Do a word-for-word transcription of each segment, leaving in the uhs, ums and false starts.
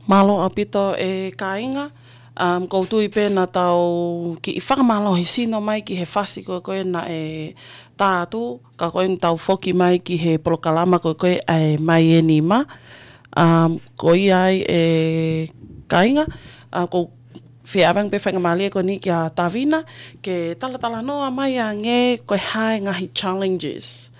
Mālō ʻaupito e kāinga, um, ʻoku ou tui pē naʻa tau kiʻi fakamālohisino mai ki he fasi ko ē naʻe tā atu, ka ko eni tau foki mai ki he polokalama ko ē ʻa e Mai ʻEnima. Um, ko ia ai e kāinga, uh, ʻoku ou fie ʻave ange pē faingamālie ko eni kia Tavina, ke talatalanoa mai ange ko e hā e ngaahi challenges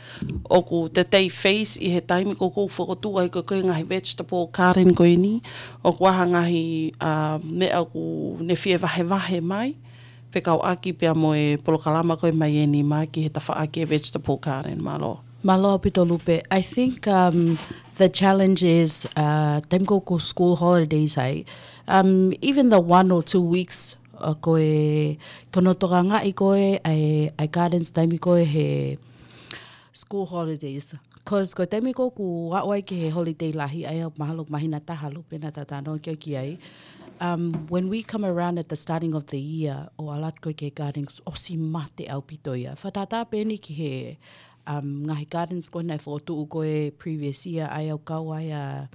ʻoku te tei face ʻi he taimi ko ē ʻoku fokotuʻu ai ko ē ngaahi vegetable garden ko eni, ʻoku ʻi ai ha ngaahi, uh, meʻa ʻoku ne fie vahevahe mai fekauʻaki pea mo e polokalama ko ē Mai ʻEnima ki he tafaʻaki e vegetable garden. Mālō. Mālō ʻaupito Lupe. I think, um, the challenge is, uh, taimi ko ē ʻoku school holidays ai, um, even the one or two weeks, uh, ko e, ko hono tokangaʻi ko ē ʻa e, ʻa e gardens taimi ko ē he school holidays. 'Cause ko e taimi ko ē ʻoku aʻu ai ki he holiday lahi ai, ʻoku mahalo māhina taha Lupe naʻa tau talanoa ki ai. Um, when we come around at the starting of the year, ʻo ʻalu atu ko ē ki he gardens, ʻosi mate ʻaupito ia. Fakatātā pē eni ki he, um, ngaahi gardens ko ē naʻe fokotuʻu ko ē previous year, ʻa ia ʻoku kau ai ʻa,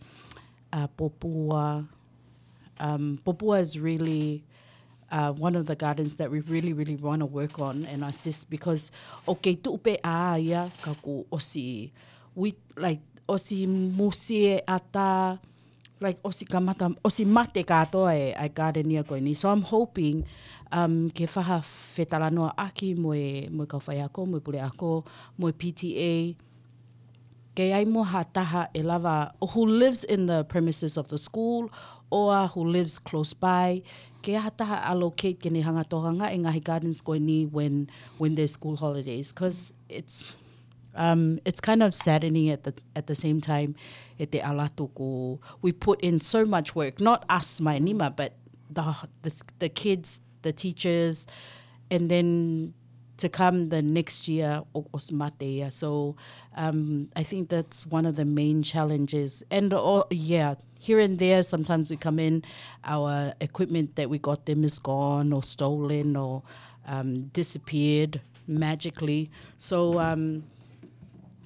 ʻa Popua. Um, Popua is really, uh, one of the gardens that we really, really wanna work on and assist because ʻoku kei tuʻu pē ʻā ia ka kuo ʻosi, we, like, ʻosi musie ʻatā, like, ʻosi kamata, ʻosi mate kātoa e, e garden ia ko eni. So I'm hoping, um, ke fai ha fetalanoaʻaki mo e, mo e kau faiako, mo e puleako, mo e P T A, ke ʻi ai mo ha taha ʻe lava, or who lives in the premises of the school, or who lives close by, ke ʻi ai ha taha allocate ke ne hanga ʻo tokangaʻi e ngaahi gardens ko eni when, when there's school holidays, 'cause it's, um, it's kind of saddening at the, at the same time, ʻete ʻalu atu ko, we put in so much work, not us Mai ʻEnima, but the, the, the kids, the teachers, and then to come the next year, ʻo, ʻosi mate ia. So, um, I think that's one of the main challenges. And, oh, yeah, here and there, sometimes we come in, our equipment that we got them is gone or stolen or, um, disappeared magically. So, um,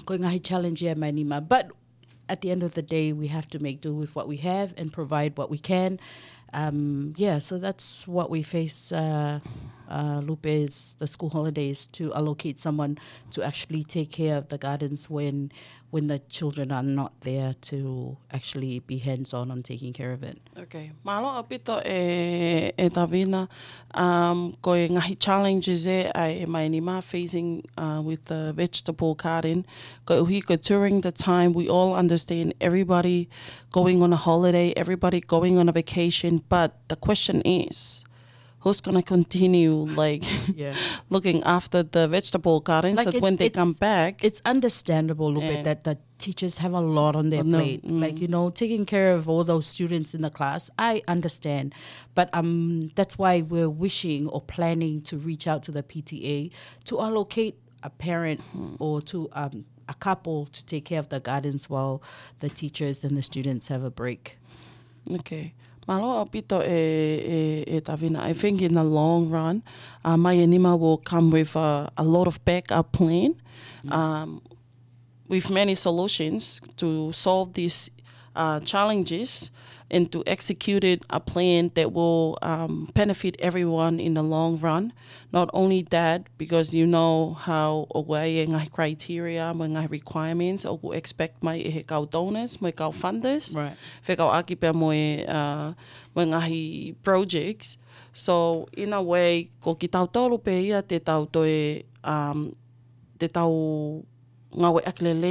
ko e ngaahi challenge ia Mai ʻEnima. But at the end of the day, we have to make do with what we have and provide what we can. Um, yeah, so that's what we face, uh, uh, Lupe, is the school holidays, to allocate someone to actually take care of the gardens when, when the children are not there to actually be hands-on on taking care of it. Okay. Mālō ʻaupito e, e Tavina, um, ko e ngaahi challenges ē ʻa e Mai ʻEnima facing, uh, with the vegetable garden. Koeʻuhi ko during the time we all understand everybody going on a holiday, everybody going on a vacation, but the question is, who's gonna continue, like, Yeah. looking after the vegetable garden so Like, it's, when they it's, come back? It's understandable, Lupe, Yeah. that the teachers have a lot on their Oh, no. plate. Mm. Like, you know, taking care of all those students in the class, I understand. But, um, that's why we're wishing or planning to reach out to the P T A to allocate a parent Mm-hmm. or to, um, a couple to take care of the gardens while the teachers and the students have a break. Okay. Mālō ʻaupito e, e, e Tavina. I think in the long run, uh, Mai ʻEnima will come with a, a lot of backup plan, Mm. um, with many solutions to solve these, uh, challenges and to execute it, a plan that will, um, benefit everyone in the long run. Not only that, because you know how ʻoku ʻi ai e ngaahi criteria, mo e ngaahi requirements, ʻoku expect mai ʻe he kau donors, mo e kau funders, Right. fekauʻaki pea mo e, uh, mo e ngaahi projects. So, in a way, ko kitautolu pē ia te tau toe, um, te tau ngāueʻaki lelei